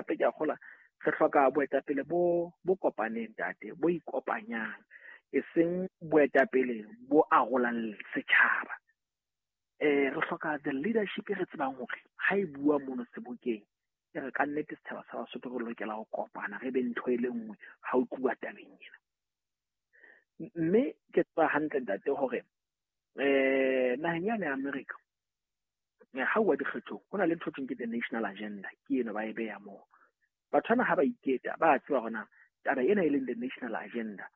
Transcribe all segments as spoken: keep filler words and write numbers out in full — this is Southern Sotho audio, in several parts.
hape ke a kgolwa re hloka boetapele bo bo kopaneng ntate, bo ikopanyang, e seng boetapele bo arolang setjhaba. Eh re hloka the leadership e re tsebang hore ha e bua mono sebokeng e re ka nnete setjhaba sa Basotho re lokela ho kopana, re be ntho e le nngwe ha o tluwa tabeng ena. Mme ke tseba hantle ntate hore eh naheng yane ya America ha uwa dikgethong ho na le ntho thweng ke the national agenda, ke eno ba e beha moo. Batho bana ha ba iketa ba tseba hore na taba ena e leng the national agenda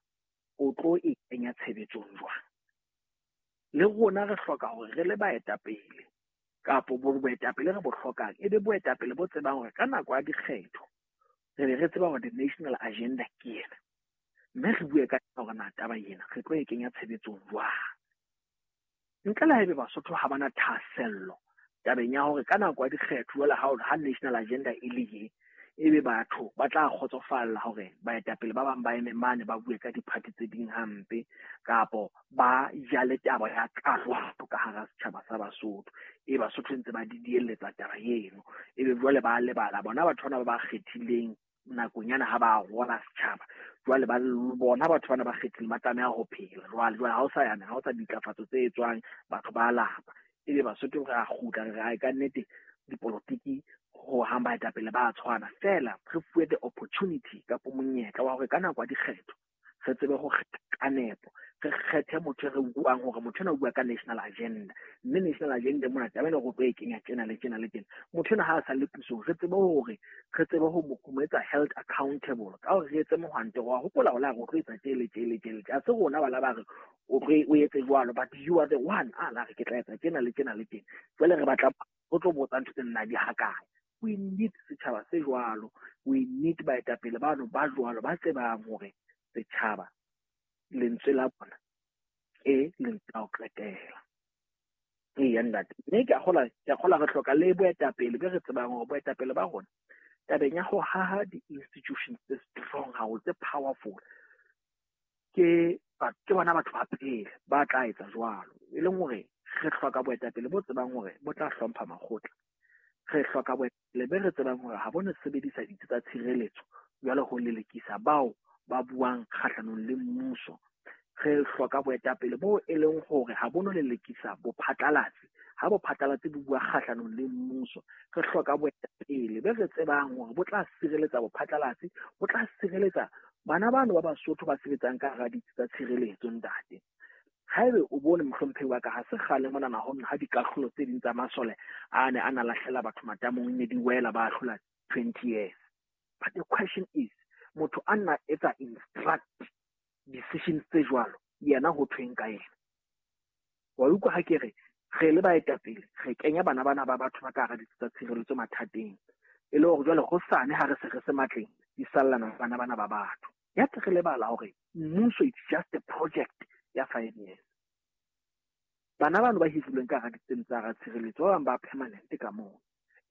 o tlo e kenya tshebetsong jwang. Le rona re hloka hore re le baetapele kapo boetapele re bo hlokang e be boetapele bo tsebang hore ka nako ya dikgetho re be re tseba hore the national agenda ke ena, mme re bue ka hore na taba ena re tlo e kenya tshebetsong jwang. Ntle le haebe Basotho ha bana thahasello tabeng ya hore ka nako ya dikgetho jwale ha ha national agenda e le ye, ebe batho ba tla kgotsofalla hore baetapele ba bang ba eme mane ba bue ka di-party tse ding hampe kapo ba jale taba ya karohano ka hara setjhaba sa Basotho. E Basotho ntse ba didielletsa taba eno, ebe jwale ba lebala bona batho bana ba ba kgethileng nakong yana ha ba rola setjhaba. Jwale ba bona batho bana ba kgethileng ba tlameha ho phela jwale. Jwale ha o sa yana, ha o sa ditlafatso tse etswang, batho ba lapa. Ebe Basotho re a kgutla re re ka nnete dipolotiki ho hang baetapele ba tshwana feela, re fuwe the opportunity kapo monyetla wa hore ka nako ya dikgetho re tsebe ho kgetha ka nepo, re kgethe motho e re buang hore motho ena o bua ka national agenda, mme national agenda mona taba ena re tlo e kenya tjena le tjena le tjena. Motho ena ha a sa le pusong re tsebe hore re tsebe ho mo etsa held accountable ka hore re etse mohwanto wa hopola hore la re o tlo etsa tje le tje le tje le tje. Ha se rona bana ba re o tlo o etse jwalo, but you are the one a la re ke tla etsa tjena le tjena le tjena. Jwale re batla ho tlo botsa ntho tse nna di hakae. We need setjhaba se jwalo, we need baetapele bano ba jwalo ba tsebang hore setjhaba lentswe la bona e lentswe la ho qetela. Eya ntate, mme ke a kgolwa, ke a kgolwa re hloka le boetapele be re tsebang hore boetapele ba rona tabeng ya ho haha di-institutions tse strong haholo, tse powerful, ke ke bona batho ba pele ba tla etsa jwalo. E leng hore re hloka boetapele bo tsebang hore bo tla hlompha makgotla. Re hloka boetapele be re tsebang hore ha bo no sebedisa ditsi tsa tshireletso jwalo ho lelekisa bao ba buang kgahlanong le mmuso. Re hloka boetapele bo e leng hore ha bo no lelekisa bophatlalatsi ha bophatlalatsi bo bua kgahlanong le mmuso. Re hloka boetapele be re tsebang hore bo tla sireletsa bophatlalatsi, bo tla sireletsa bana bano ba Basotho ba sebetsang ka hara ditsi tsa tshireletso ntate. Haebe o bone mohlomphehi wa ka, ha se kgale monana ho nna ha dikahlolo tse ding tsa masole a ne a na lahlela batho matamong ne di wela ba ahlola twenty years. But the question is, motho a nna etsa instruct decisions tse jwalo, yena ho thweng ka yena? Wa utlwa ha ke re re le baetapele re kenya bana bana ba batho ba ka hara ditsi tsa tshireletso mathateng, e le hore jwale hosane ha re se re se matleng di sallana bana bana ba batho. Ya re lebala hore mmuso it's just a project ya five years. Bana bano ba hirilweng ka hara ditseng tsa hara tshireletso ba bang ba permanent ka moo,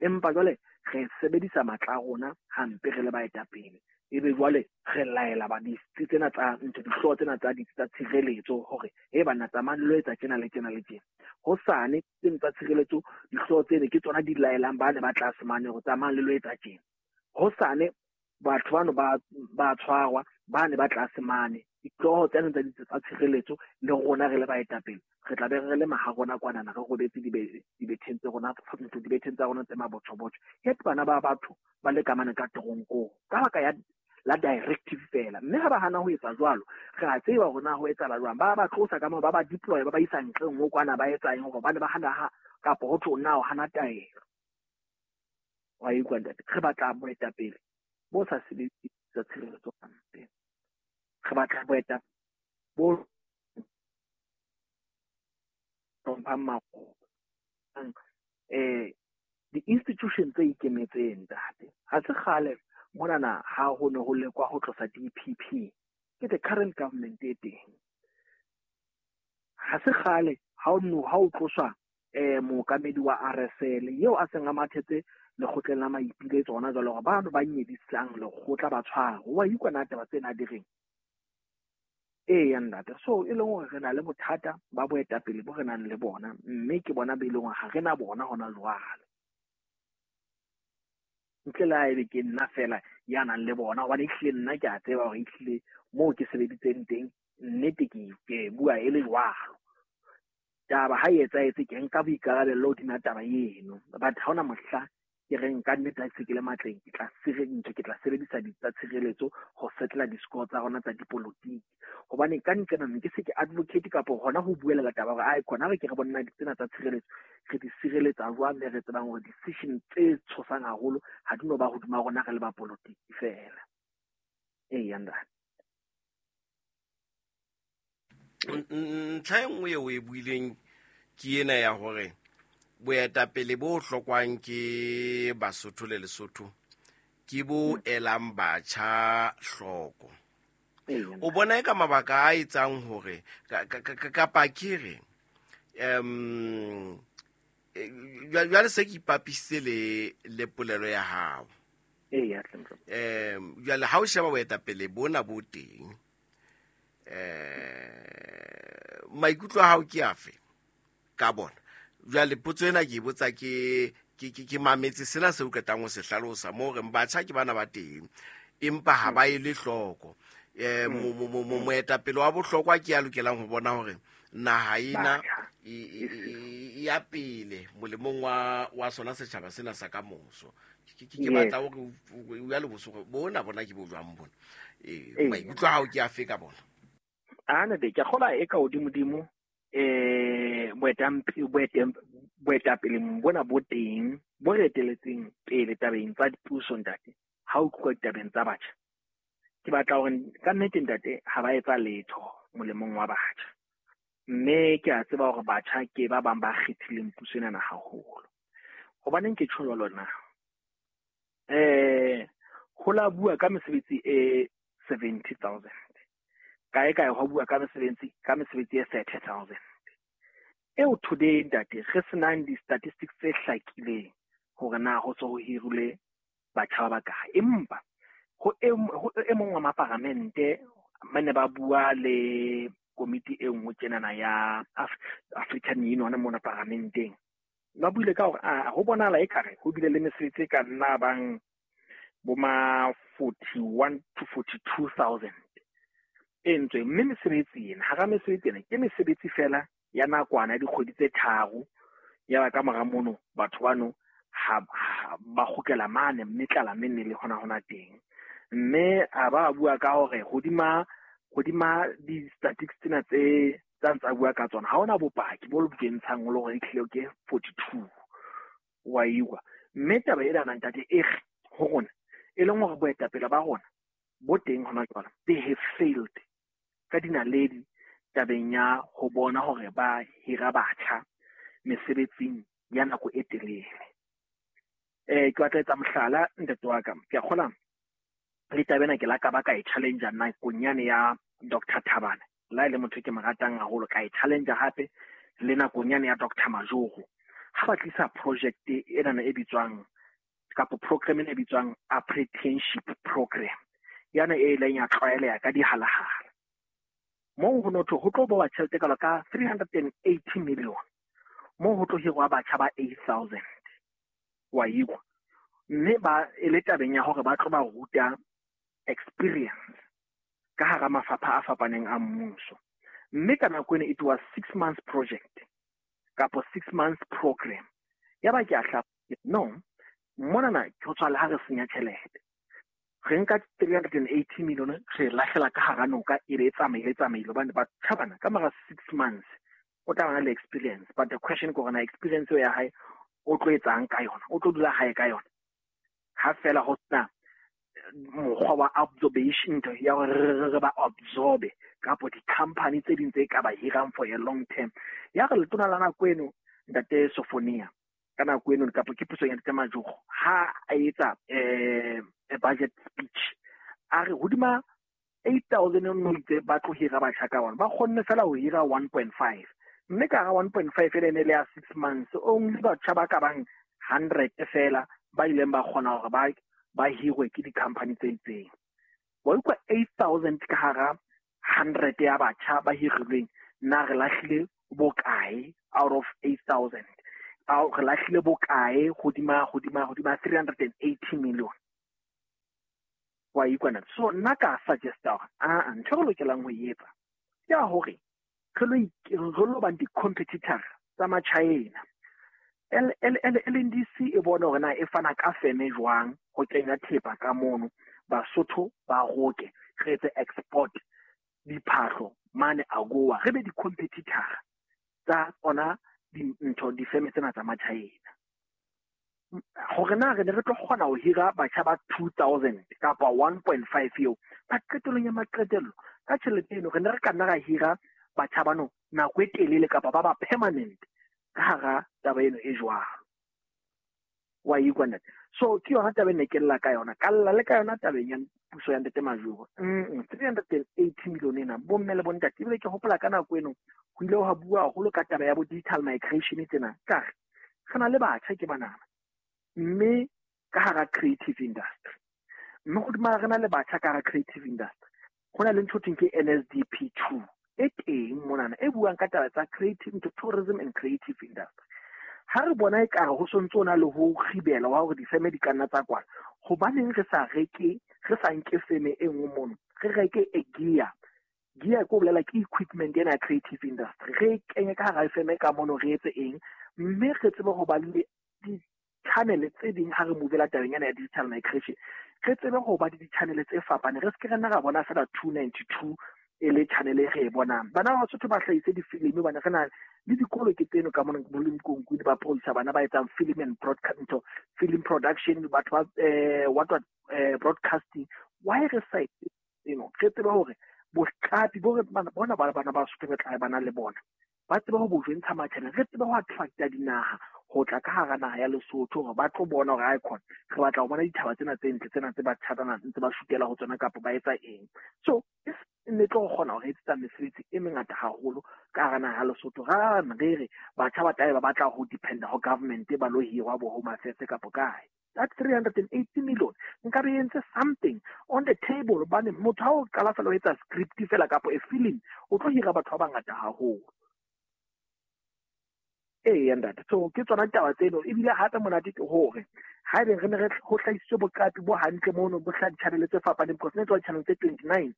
empa jwale re sebedisa matla a rona hampe re le baetapele, ebe jwale re laela ba ditsi tsena tsa ntho dihlooho tsena tsa ditsi tsa tshireletso hore e banna tsamayang lo etsa tjena le tjena le tjena. Hosane tsena tsa tshireletso dihlooho tsene ke tsona di laelang ba ne ba tlase mane hore tsamayang le lo etsa tjena. Hosane batho bano ba ba tshwarwa ba ne ba tlase mane dihlooho tsena tsa ditsi tsa tshireletso le rona re le baetapele re tla be re le maha rona kwanana re robetse dibetheng tse rona ntho dibetheng tsa rona tse mabotjhobotjho. Yet bana ba batho ba le kamane ka teronkong ka baka ya la directive fela, mme ha ba hana ho etsa jwalo re a tseba hore na ho etsahala jwang. Ba ba tlosa ka moo, ba ba deploy, ba ba isa ntle nngwe kwana ba etsa eng hore ba ne ba hana ha kapo ho thwe na o hana taelo. Wa utlwa ntate, re batla boetapele bo sa sebedise tsa tshireletso hampe. Re batla boetapele bo hlomphang makgotla, eh di-institution tse ikemetseng ntate. Ha se kgale monana ha ho ne ho lekwa ho tlosa D P P ke the current government e teng. Ha se kgale ha o no ha o tloswa eh mookamedi wa R S L eo a seng a mathetse lekgotleng la maipiletso hona jwale hore bano ba nyedisang lekgotla ba tshwarwe. Wa utlwa na taba tsena di reng? Eya ntate, so e leng hore re na le bothata ba boetapele bo re nang le bona, mme ke bona be e leng hore ha re na bona hona jwale. Ntle le ha ebe ke nna fela ya nang le bona, hobane ehlile nna ke a tseba hore ehlile moo ke sebeditseng teng nnete ke ke bua e le jwalo. Taba ha e etsahetse ke nka boikarabello hodima taba eno, but ha hona mohla ke reng ka nnete ha ke se ke le matleng ke tla ntho ke tla sebedisa ditsa tshireletso ho settle di-score tsa rona tsa dipolotiki. Hobane ka nqena ke se ke advocate kapa hona ho buelela taba hore ai khona re ke re bona ditsena tsa tshireletso re di sireletsa jwang, mme re tsebang hore decision tse tshosang haholo ha di no ba hodima rona re le ba polotiki fela. Eya ntate. Ntlha e nngwe eo e buileng ke ena ya hore boetapele bo hlokwang ke Basotho le Lesotho ke bo elang batjha hloko. O bona e ka mabaka a etsang hore kapa ke re um jwale se ke ipapisitse le le polelo ya hao. Um jwale ha o sheba boetapele bona bo teng, eh maikutlo a hao ke afe ka bona? Jwale potso ena ke e botsa ke ke ke mametse sena se o qetang ho se hlalosa mo reng batjha ke bana ba teng empa ha ba ele hloko. Eh moetapele wa bohlokwa ke ya lokelang ho bona hore naha ena e ya pele molemong wa wa sona setjhaba sena sa kamoso. Ke ke batla hore o ya le bosogo bona bona ke bo jwang bona. Eh maikutlo a hao ke afe ka bona? Ana de ke kgola e ka hodimodimo eh boetapele bona bo teng bo re eteletseng pele tabeng tsa dipuso ntate. Ha o tluwa ditabeng tsa batjha, ke batla hore ka nnete ntate ha ba etsa letho molemong wa batjha, mme ke a tseba hore batjha ke ba bang ba kgethileng puso ena haholo. Hobaneng ke tjho jwalo na? Eh ho la bua ka mesebetsi e seventy thousand, kae kae ho bua ka mesebetsi ka mesebetsi e thirty thousand. Eo today ntate re senang di-statistics tse hlakileng hore na ho so ho hirile batjha ba bakae, empa ho e mong wa maparamente mane ba bua le komiti e nngwe tjenana ya African Union mona paramenteng, ba buile ka hore a ho bonahala ekare ho bile le mesebetsi e ka nna bang bo ma forty-one to forty-two thousand e ntswe. Mme mesebetsi ena, hara mesebetsi ena ke mesebetsi fela ya nakwana ya dikgwedi tse tharo, ya ba ka mora mono batho bano ha ba kgutlela mane mme tlala menne le hona hona teng. Mme a ba bua ka hore hodima hodima di-statistics tsena tse tsa ntsa bua ka tsona ha hona bopaki bo bontshang le hore ehlile ke forty-two wa iwa. Mme taba ena ntate e re ho rona e leng hore boetapele ba rona bo teng hona jwale, they have failed ka dinaledi tabeng ya ho bona hore ba hira batjha mesebetsing ya nako e telele. Eh ke batla etsa mohlala ntate wa ka, ke a kgola le taba ena ke la ka ba ka e challenge nakong yane ya Doctor Thabane, la ile motho ke mo ratang haholo, ka e challenge hape le nakong yane ya Doctor Majoro ha ba tlisa project ena e bitswang kapa program ena e bitswang apprenticeship program yana e ileng ya tlwaeleha ka dihalahala. Moo ho notho ho tlo bowa tjhelete kalo ka three hundred and eighty million, moo ho tlo hirwa batjha ba eight thousand wa ikwa, mme ba e le tabeng ya hore ba tlo ba ruta experience ka hara mafapha a fapaneng a mmuso. Mme ka nako ena it was six months project kapo six months program. Ya ba ke a hla no mona na ke ho tswa le ha re senya tjhelete, re nka three hundred and eighty million re lahlela ka hara noka e be e tsamaile tsamaile, hobane batjha bana ka mora six months o tla bana le experience. But the question ke hore na experience eo ya hae o tlo etsang ka yona, o tlo dula hae ka yona ha fela ho sena mokgwa wa absorption ya hore re ba absorbe kapo di-company tse ding tse ka ba hirang for a long term. Ya re letona la nako eno ntate Sofonia ka nako eno kapo ke puso ya ntate Majoro ha a etsa eh budget speech a re hodima eight thousand no itse ba tlo hira batjha ka bona, ba kgonne fela ho hira one point five, mme ka hara one point five e ne le ya six months only batjha ba ka bang hundred fela ba ileng ba kgona hore ba ba hirwe ke di-company tse itseng. Wa utlwa eight thousand ka hara hundred ya batjha ba hirilweng, na re lahlile bokae out of eight thousand? Re lahlile bokae hodima hodima hodima three hundred and eighty million. Wa ikwana. So nna ka suggesta hore a ntho re lokelang ho e etsa ke ya hore re lo re lo bang di-competitor tsa Machina. L L L L N D C e bona hore na e fana ka feme jwang ho kenya thepa ka mono, Basotho ba roke, re etse export diphahlo mane AGOA, re be di-competitor tsa tsona dintho difeme tsena tsa Machina. Hore na re ne re tlo kgona ho hira batjha ba two thousand kapa one point five eo, ba qetellong ya maqetello ka tjhelete eno re ne re ka nna ra hira batjha bano nako e telele kapa ba ba permanent ka hara taba eno e jwalo. Wa ikwa ntate. So ke yona taba e ne ke lla ka yona, ka lla le ka yona tabeng ya puso ya Ntate Majoro. Mm, three hundred and eighty million ena bomme le bontate, ebile ke hopola ka nako eno ho ile ha bua haholo ka taba ya bo digital migration tsena. Ka re re na le batjha ke banana mme ka hara creative industry, mme hodima re na le batjha ka hara creative industry, ho na le ntho thweng ke N S D P two e teng monana e buang ka taba tsa creative into tourism and creative industry. Ha re bona ekare ho sontso o na le ho kgibela wa hore difeme di ka nna tsa kwala, hobaneng re sa reke, re sa nke feme e nngwe mono, re reke e gear. Gear ke ho bolela ke equipment ena ya creative industry, re e kenye ka hara feme ka mono, re etse eng, mme re tsebe ho ba le di-channel tse ding ha re movela tabeng ena ya digital migration, re tsebe ho ba le di-channel tse fapaneng, re se ke re nna ra bona fela two ninety-two e le channel e re e bonang. Bana ba Basotho ba hlahise difilimi hobane re na le dikolo ke tseno ka mona bo le Nkonkuni ba producer bana ba etsang film and broadcast, ntho, film production, batho ba, eh, what, what, eh, broadcasting. Why re sa etse seno? Re tsebe hore boqapi bo re bana, bona bana ba Basotho re tla bana le bona, ba tsebe ho bo jwentsha matjhana, re tsebe ho attracta dinaha ho tla ka hara naha ya Lesotho hore ba tlo bona hore icon re batla ho bona dithaba tsena tse ntle tsena tse ba tjhatana ntse ba shutela ho tsona kapa ba etsa eng. So e ne tlo kgona hore e etsa mesebetsi e mengata haholo ka hara naha ya Lesotho. Ra re re batjha ba tlabe ba batla ho dependa ho government ba lo hirwa bo Home Affairs kapa kae. That three hundred and eighty million nka re entse something on the table, hobane motho ha o qala fela ho etsa script fela kapa a film, o tlo hira batho ba bangata haholo. Ee, ntate. So ke tsona ditaba tseno. Ebile hape monate ke hore haebe re ne re ho hlahisitswe boqapi bo hantle mono, bo hlaha di-channel tse fapaneng, because ne tswa di-channel tse twenty-nine,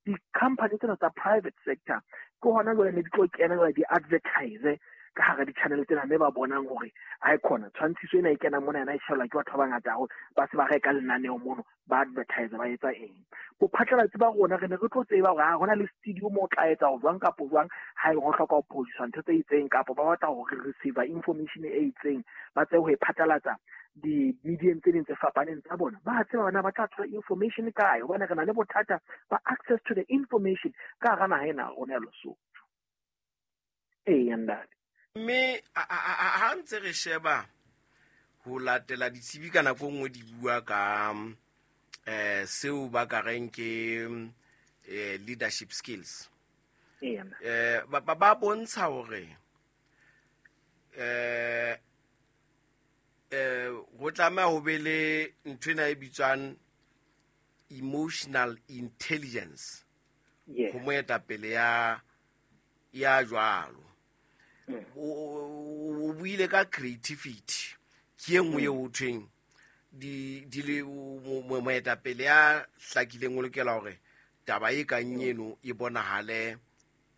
di-company tsena tsa private sector ke hona jwale ne di tlo kena jwale di advertise ka hara di-channel tsena, mme ba bonang hore ha e khona tshwantshiso ena e kenang mona yena e shebelwa ke batho ba bangata haholo, ba se ba reka lenaneo mono, ba advertise, ba etsa eng. Bophatlalatsi ba rona re ne re tlo tseba hore ha hona le studio moo o tla etsa ho jwang kapa jwang, ha e ho hloka ho producer ntho tse itseng kapa ba batla ho receive information e itseng, ba tsebe ho e phatlalatsa di-medium tse ding tse fapaneng tsa bona. Ba tseba hore na ba tla thola information kae, hobane re na le bothata ba access to the information ka hara naha ena ya rona ya Lesotho. Ee, ntate. Mme ha ntse re sheba ho latela ditsebi ka nako e nngwe di bua ka, eh, seo ba ka reng ke, eh, leadership skills. Ee. Eh, ba, ba, ba bontsha hore, eh, eh, ho tlameha ho be le ntho ena e bitswang emotional intelligence. Yes. Ho moetapele ya, ya jwalo. Mm. O, o, o buile ka creativity, ke e nngwe eo ho thweng di, di le, o, mo, mo, moetapele ya hlakileng o lokela hore taba e kang eno e bonahale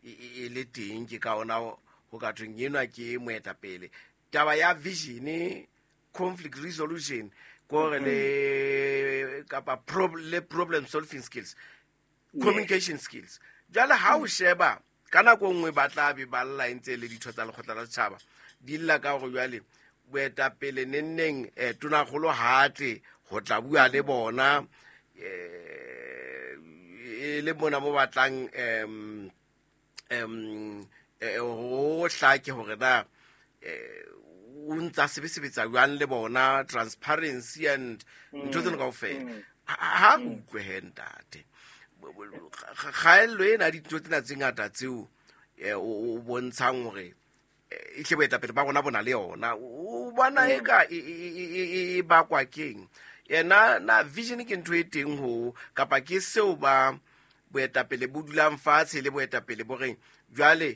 e, e, e le teng, ke ka ona ho ka thweng enwa ke moetapele. Taba ya vision, conflict resolution, ke hore le kapa prob-, le problem solving skills, Yes. communication skills. Jwale ha o sheba ka nako e nngwe ba tla be ba lla e ntse e le ditho tsa lekgotla la setjhaba, di lla ka hore jwale boetapele nenneng, eh, tonakgolo ha tle ho tla bua le bona, eh, e le mona mo batlang, em, em, eh, ho hlake hore na, eh, o ntsa sebesebetsa jwang le bona, transparency and ntho tseno kaofela. Mm. Ha, ha re utlwe he ntate. Kgaello ena dintho tsena tse ngata tseo, eh, o, o bontshang hore, eh, e hle boetapele ba rona bo na le yona. O bona Mm. eka e, e, e, e, e, e bakwa keng? Yena na vision ke ntho e teng ho, kapa ke seo ba boetapele bo dulang fatshe le boetapele bo reng jwale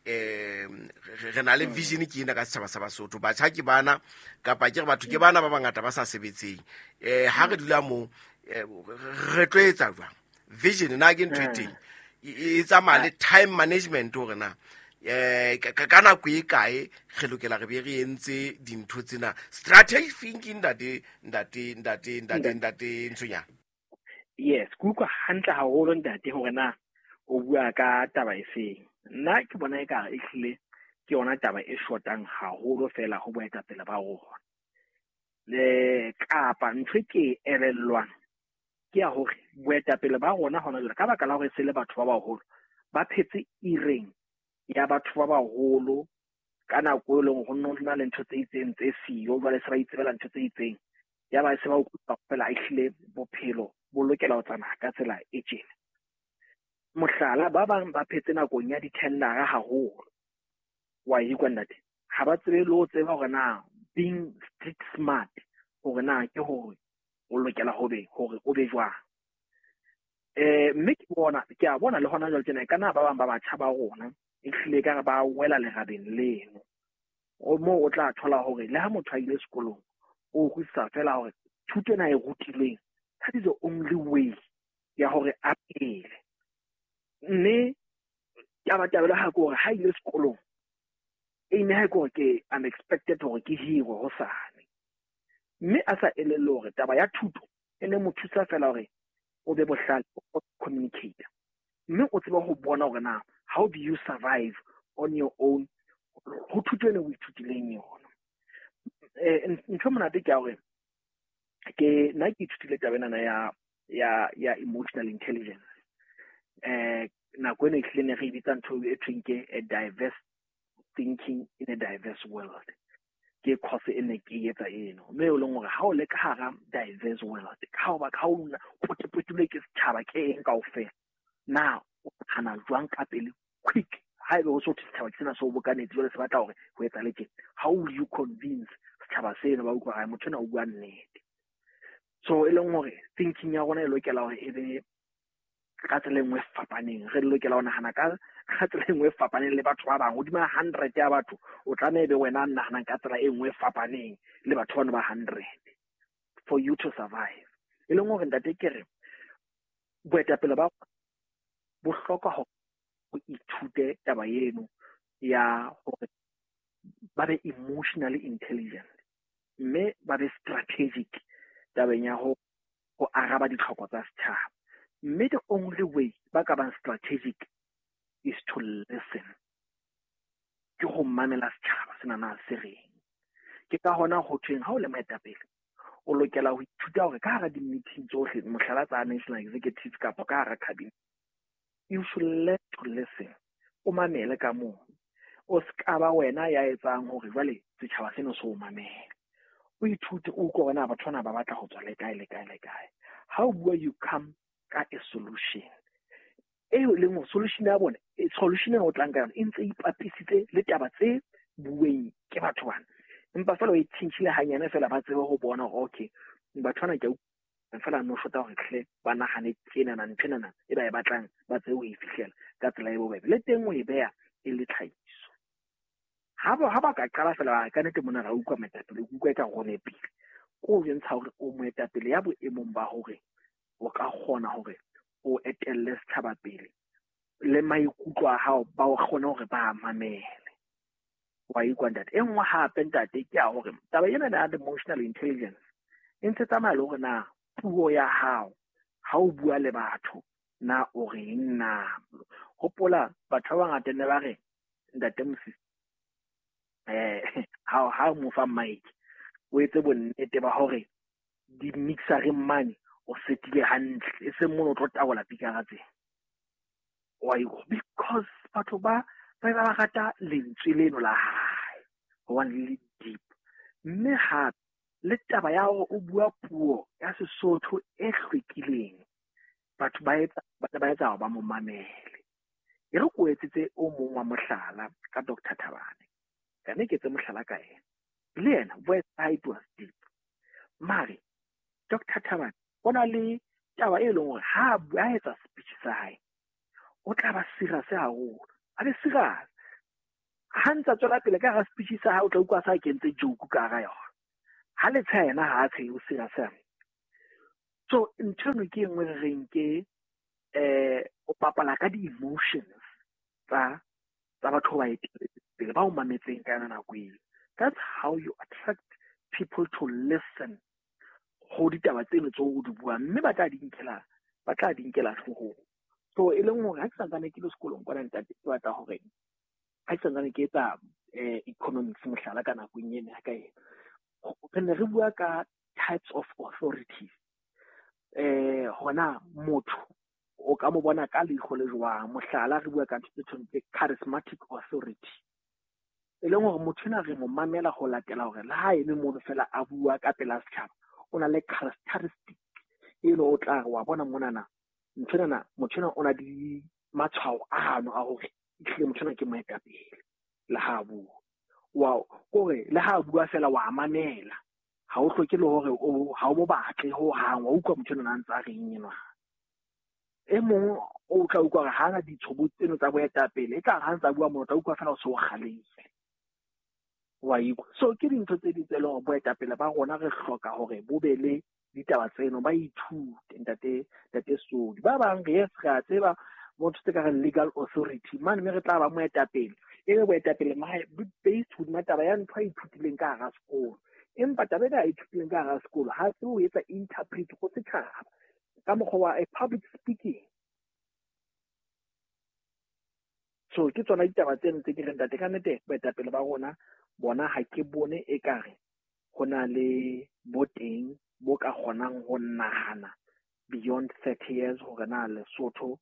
Um re na le vision ke ena ka setjhaba sa Basotho, batjha ke bana kapa ke re batho ke bana ba bangata ba sa sebetseng. Eh ha re dula mo re tlo etsa jwang? Vision na ke ntho e teng e tsamaya le time management hore na eh ka nako e kae re lokela re be re entse dintho tsena. Strategic thinking ntate ntate ntate ntate ntate Ntshonyana. Yes, ke utlwa hantle haholo ntate hore na o bua ka taba efeng. Nna ke bona ekare ehlile ke yona taba e shotang haholo fela ho boetapele ba rona. Le kapa ntho e ke elellwang ke ya hore boetapele ba rona hona jwale ka baka la hore se le batho ba baholo ba phetse ireng ya batho ba baholo ka nako e leng ho nno na le ntho tse itseng tse siyo, jwale se ba itsebela ntho tse itseng, ya ba se ba utlwa fela ehlile bophelo bo lokela ho tsamaya ka tsela e tjena. Mohlala, ba bang ba phetse nakong ya di-tendera haholo, wa ikwa ntate, ha ba tsebe le ho tseba hore na being street smart hore na ke hore o lokela ho be hore o be jwang. Eh mme ke bona ke a bona le hona jwale tjena ka na ba bang ba batjha ba rona ehlile ka re ba wela lerabeng leno, o moo o tla thola hore le ha motho a ile sekolong o utlwisisa fela hore thuto ena e rutilweng, that is the only way ya hore a phele. Mme tabatabelo ha ke hore ha ile sekolong e ne ha ke hore ke I'm expected hore ke hirwe hosane, mme a sa elellwe hore taba ya thuto e ne mo thusa fela hore o be bohlale, o communicate, mme o tsebe ho bona hore na how do you survive on your own ho thuto ena o ithutileng yona. Eh ntho monate ke ya hore ke nna ke ithutile taba ena ya ya ya emotional intelligence. Eh nako ena ehlile ne re bitsa ntho e thweng ke a diverse thinking in a diverse world. Ke course e ne ke etsa eno, mme o leng hore ha o le ka hara diverse world, ka ho ba ka o potepotilwe ke setjhaba ke eng kaofela, na o nahana jwang ka pele quick haebe o so setjhaba ke sena se o bokanetse jwale se batla hore ho etsahale tjena, how will you convince setjhaba seno ba utlwa hore motho ena o bua nnete? So e leng hore thinking ya rona e lokela hore e be ka tsela e nngwe e fapaneng, re lokela ho nahana ka ka tsela e nngwe e fapaneng le batho ba bang. Hodima hundred ya batho o tlameha ebe wena nahanang ka tsela e nngwe e fapaneng le batho bano ba hundred for you to survive. E leng hore ntate ke re boetapele ba bo hloka hore o ithute taba eno ya hore ba be emotionally intelligent mme ba be strategic tabeng ya ho ho araba ditlhoko tsa setjhaba. Mme the only way ba ka bang strategic is to listen, ke ho mamela setjhaba sena na se reng. Ke ka hona ho thweng ha o le moetapele o lokela ho ithuta hore ka hara di-meeting tsohle, mohlala tsa national executive kapa ka hara cabinet, you should learn to listen, o mamele ka moo, o ska ba wena ya etsang hore jwale setjhaba seno se o mamele. O ithute o utlwe hore na batho bana ba batla ho tswa le kae le kae le kae. Ha o bua you come ka a solution eo leng hore solution ya bona, solution ena o tlang ka yona e ntse e ipapisitse le taba tse bueng ke batho bana, empa fela o e tjhentjhile hanyane fela ba tsebe ho bona hore okay batho bana ke a fela no shota hore hle ba nahane tjenana ntho enana e ba e batlang ba tsebe ho e fihlela ka tsela e bobebe, le teng o e beha e le tlhahiso. Ha ba ha ba ka qala fela ka nnete mona ra utlwa moetapele, o utlwa eka go nepile, ko o bontsha hore o moetapele ya boemong ba hore o ka kgona hore o etelle setjhaba pele le maikutlo a hao ba o kgone hore ba mamele. Wa ikwa ntate. E nngwe hape ntate ke ya hore taba ena ya emotional intelligence e ntse tsamaya le hore na puo ya hao ha o bua le batho na o reng na. Hopola batho ba bangata ne ba re ntate Mosisi eh ha ha mo fa mic o etse bonnete ba hore di-mixereng mane o setile hantle, e seng mono o tlo tabola pikara tse. Wa ikwa because batho ba ba ba rata lentswe leno la hae hobane le le deep. Mme hape le taba ya hore o bua puo ya Sesotho e hlwekileng, batho ba etsa ba etsa hore ba mo mamele. E re ko etsetse o mong wa mohlala ka Doctor Thabane, ka ne ke etse mohlala ka ena, le yena voice ya hae it was deep. Mare Doctor Thabane o na le taba e leng hore ha a etsa speech sa hae o tla ba serious haholo, a be serious. Ha ntsa tswela pele ka hara speech sa hae, o tla utlwa sa kentse joke ka hara yona. Ha le tsheha yena ha a tshehe, o serious. So ntho eno ke e nngwe re reng ke eh o bapala ka di-emotions tsa tsa batho ba etelletseng pele, ba o mametseng ka yona nako eo. That's how you attract people to listen ho ditaba tseno tseo o di buang, mme ba tla di nkela, ba tla di nkela hloohong. So e leng hore ha ke santsane ke le sekolong kwana, ntate, ke batla hore ha ke santsane ke etsa eh, economics mohlala ka nakong ena ya ka ena, re ne re bua ka types of authorities. Eh hona motho o ka mo bona ka leihlo le jwang. Mohlala, re bua ka ntho tse tshwanang tse charismatic authority, e leng hore motho ena re mo mamela ho latela hore le ha eme mono fela a bua ka pela setjhaba, o na le characteristic e le o tla re wa bona monana ntho enana, motho ena o na le matshwao ano a hore ehlile motho ena ke moetapele. Le ha a bua wa kore le ha a bua fela wa mamela, ha o hloke le hore o ha o mo batle ho hang, wa utlwa motho enwa a ntse a reng enwa. E mong o tla utlwa hore ha ana ditshobotsi tseno tsa boetapele, e tla re ha ntse a bua mono, o tla utlwa fela o se o kgalehile, wa ikwa. So ke dintho tse ding tse leng hore boetapele ba rona re hloka hore bo be le ditaba tseno, ba ithute, ntate ntate Sodi. Ba bang re yes, re a tseba motho tse ka reng legal authority mane, mme re tla ba moetapele, e be boetapele based hodima taba ya ntho a ithutileng ka hara sekolo. Empa taba ena a ithutileng ka hara sekolo ha se o etsa interpret go setjhaba ka mokgwa wa a public speaking. So ke tsona ditaba tseno tse ke reng, ntate, ka nnete boetapele ba rona bona ha ke bone ekare ho na le bo teng bo ka kgonang ho nahana beyond thirty years hore na Lesotho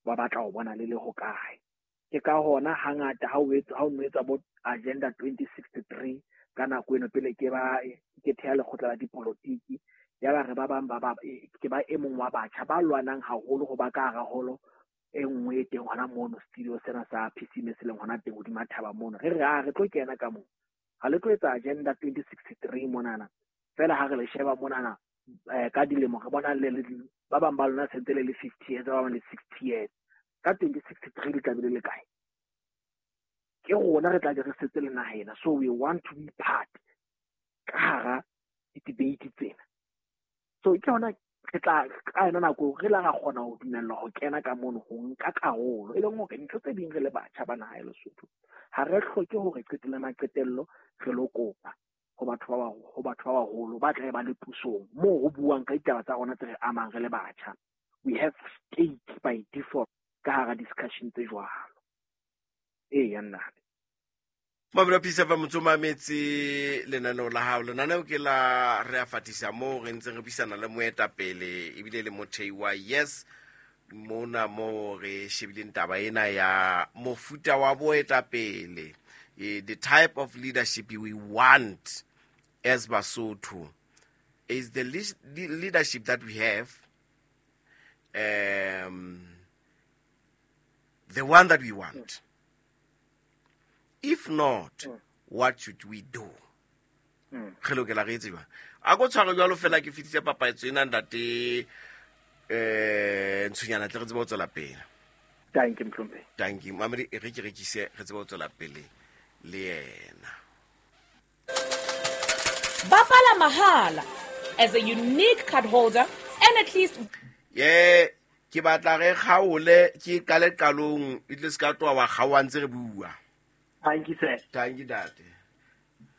ba batla ho bona le le hokae. Ke ka hona hangata ha o etsa, ha o no etsa bo Agenda twenty sixty-three ka nako eno pele ke ba ke theha lekgotla la dipolotiki, ya ba re ba bang ba ba ke ba e mong wa batjha ba lwanang haholo ho ba ka hara holo e nngwe e teng hona mono studio sena sa P C M se leng hona teng hodima thaba mono. Re re a re tlo kena ka moo, ha le tlo etsa Agenda twenty sixty-three monana fela ha re le sheba monana eh, ka dilemo re bona le le ba bang ba lona sentse le le fifty years, ba bang le sixty years. Ka twenty sixty-three le tla be le le kae? Ke rona re tla be re setse le naha ena. So we want to be part ka hara di-debate tsena. So ke hona re tla ka yona nako re la ra kgona ho dumellwa ho kena ka mono ho nka karolo, e leng hore ntho tse ding re le batjha ba naha ya Lesotho ha re hloke hore qetelle maqetello re lo kopa ho batho ba ho batho ba baholo ba tla ba le pusong moo ho buang ka ditaba tsa rona tse re amang re le batjha. We have stake by default ka hara discussion tse jwalo. Eya nna. Mabelo Peace F M motho mametse lenaneo la hao. Lenaneo ke la re a fatisa moo re ntseng re buisana le moetapele ebile le mothei wa Yes mona mo re shebileng taba ena ya mofuta wa boetapele, the type of leadership we want as Basotho is the leadership that we have, um, the one that we want. If not, mm. what should we do? Re lokela re etse jwang? A ko tshware jwalo fela ke fetise papatso ena ntate eh Ntshonyana tle re tsebe ho tswela pele. Thank you, Mhlompe. Thank you. Mamedi e re ke rekise re tsebe ho tswela pele le yena. Bapala mahala as a unique card holder and at least ye ke batla re kgaole ke qale qalong e tle se ka tloha wa kgaoha ntse re bua. Thank you, sir. Thank you, Dad.